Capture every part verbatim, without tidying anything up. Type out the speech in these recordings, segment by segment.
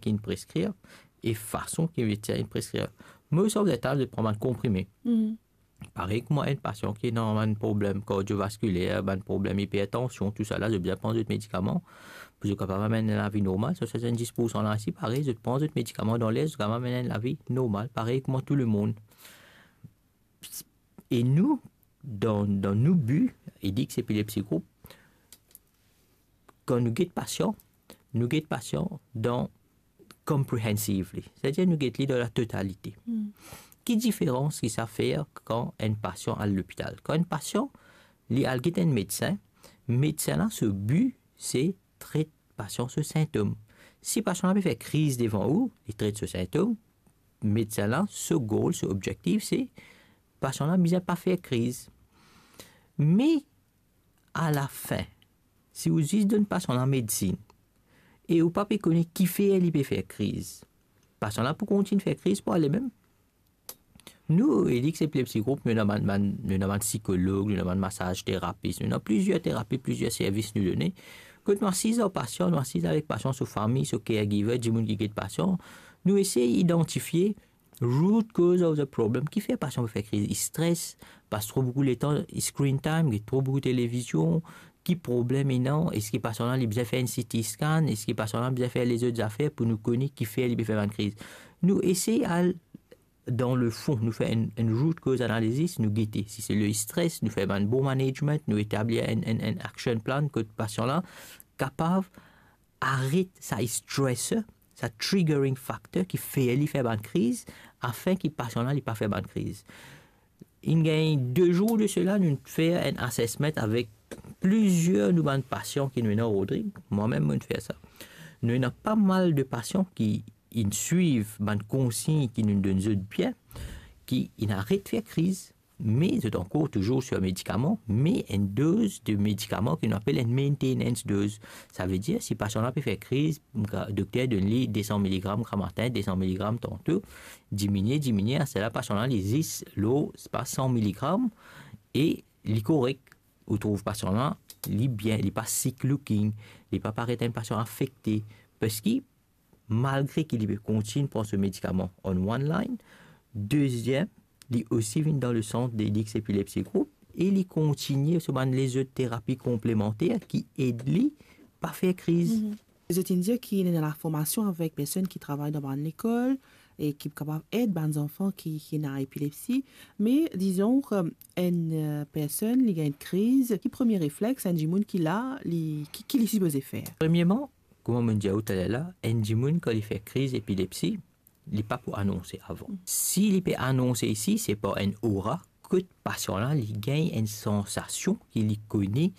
ki'nn preskrir e fason ki medsin inn preskrir. Most of the time, zot pran bann konprime. Parey kouma enn pasian ki ena bann problem kardiovaskiler, bann problem ipertansion, tousala, zot bizin pran zot medikaman pou zot kapav amenn enn lavi normal. So, sesanndiz poursan la isi, parey, zot pran zot medikaman dan ler, zot kapav amenn enn lavi normal, parey kouma tou lemonn. E nou, dan, dan nou bi, Edix Epilepsy Group, kan nou get pasian, nou get pasian dan comprehensively, setadir nou get li dan la totalite. Ki diferans ki sa fer kan enn pasian al lopital? Kan enn pasian, li al get enn medsin, medsin la, so bi, se tret pasian so sintom. Si pasian la pe fer kriz devan ou, li tret so sintom, medsin la, so goal, so objektif, se pasian la bizin pa fer kriz. Me alafin, si ou zis donn pasian la medsin e ou pa pe kone kifer li pe fer kriz, pasian la pou kontign fer kriz par limem. Nou, Edix Epilepsy Group, nou ena bann, bann, nou ena bann psikolog, nou ena bann masaz terapis, nou ena plizier terapi, plizier servis nou done. Kot nou asiz ar pasian, nou asiz avek pasian, so fami, so caregiver, dimoun ki get pasian, nou esey idantifie root cause of the problem. Kifer pasian pe fer kriz? Li stres, pas tro boukou letan, screen time, get tro boukou televizion. Ki problem ena? Eski pasian la, li bizin fer enn C T scan? Eski pasian la bizin fer lezot zafer pou nou kone kifer li pe fer bann kriz? Nou esey al dan lefon, nou fer enn, enn root cause analysis, nou gete. Si se le stres, nou fer bann bon management, nou etablir enn, enn, enn action plan kot pasian la kapav aret sa stressor, sa triggering factor ki fer li fer bann kriz, afin ki pasian la, li pa fer bann kriz. Inn gagn de zour de sela, nou fer enn assessment avek plizier nou bann pasian ki nou ena Rodrig. Mwa mem, mo'nn fer sa. Nou ena pa mal de pasian ki inn swiv bann konsign ki nou donn zot bien, ki inn aret fer kriz, me zot ankor touzour sir medikaman, me enn doz de medikaman ki nou apel enn maintenance dose. Savedir, si pasian la pe fer kriz, gra-, dokter donn li de san miligram gramatin, de san miligram tanto, diminie, diminie, aster la pasian la, li zis lor, se pa san miligram, e li korek. Ou trouv pasian la, li bien, li pa sick looking, li pa paret enn pasian afekte. Parski, malgre ki li pe kontign pran so medikaman on one line, deziem, li osi vinn dan le sant de Edix Epilepsy Group e li kontigne so bann lezot terapi konplemanter ki ed li pa fer kriz. Mhm. Zot inn dir ki ena laformasion avek personn ki travay dan bann lekol e ki kapav ed bann zanfan ki, ki ena epilepsi. Me, dizon, enn, eh, personn, li gagn kriz, ki premie reflex enn dimoun ki la, li, ki, ki li sipoze fer? Premierman, kouma mo'nn dir ou taler la, enn dimoun, kan li fer kriz epilepsi, li pa pou anonse avan. Mm. Si li pe anonse isi, se par enn aura, kot pasian la, li gagn enn sansasion ki li kone,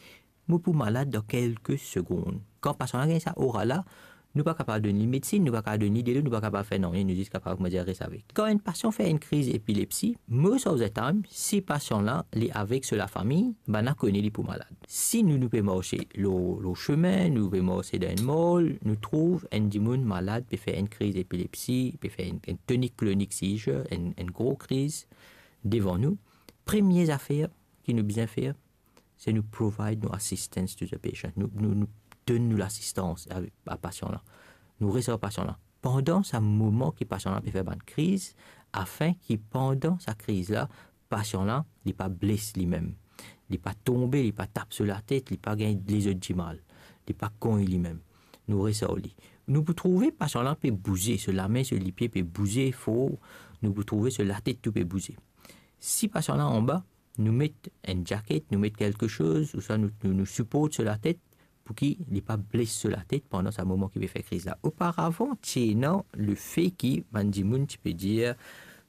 mo pou malad dan kelke segonn. Kan pasian la gagn sa aura la, nou pa kapav donn li medsin, nou pa kapav donn li delo, nou pa kapav fer nanye, nou zis kapav, kouma dir, res avek. Kan enn pasian fer enn kriz epilepsi, most of the time, si pasian la, li avek so lafami, bann la kone li pou malad. Si nou, nou pe marse lor, lor sime, nou pe marse dan enn mall, nou trouv enn dimoun malad, pe fer enn kriz epilepsi, pe fer enn, enn tonic-clonic seizure, enn, enn gro kriz devan nou, premie zafer ki nou bizin fer, se nou provide nou assistance to the patient. Nou, nou, nou donn nou lasistans a, a pasian la. Nou res ar pasian la. Pandan sa moman ki pasian la pe fer bann kriz, afin ki pandan sa kriz la, pasian la, li pa bles limem. Li pa tonbe, li pa tap so latet, li pa gagn lezot dimal. Li pa kogn limem. Nou res ar li. Nou pou trouve pasian la pe bouze, so lame, so lipie pe bouze for, nou pou trouve so latet tou pe bouze. Si pasian la anba, nou met enn jaket, nou met kelke soz, ouswa nou, nou, nou siport so latet pou ki li pa bles so latet pandan sa moman ki pe fer kriz la. Oparavan, ti ena lefe ki bann dimoun ti pe dir,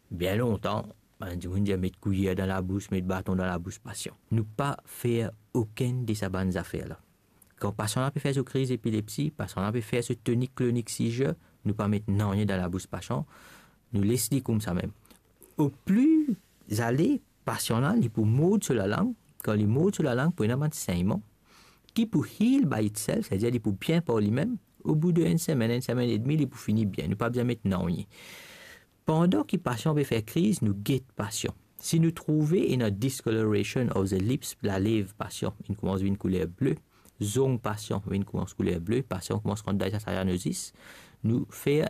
bien lontan, bann dimoun dir met kouyer dan labous, met baton dan labous pasian. Nou pa fer okenn de sa bann zafer la. Kan pasian la pe fer so kriz epilepsi, pasian la pe fer so tonic-clonic seizure, nou pa met nanye dan labous pasian, nou les li koumsa mem. Opli ale, pasian la, li pou mord so lalang. Kan li mord so lalang, pou ena bann segnman ki pou heal by itself, setadir li pou bien par limem. Obout de enn semenn, enn semenn edmi, li pou fini bien. Nou pa bizin met nanye. Pandan ki pasian pe fer kriz, nou get pasian. Si nou trouve ena discoloration of the lips, lalev pasian inn koumans vinn kouler ble, zong pasian vinn koumans kouler ble, pasian koumans rant dan sa cyanosis, nou fer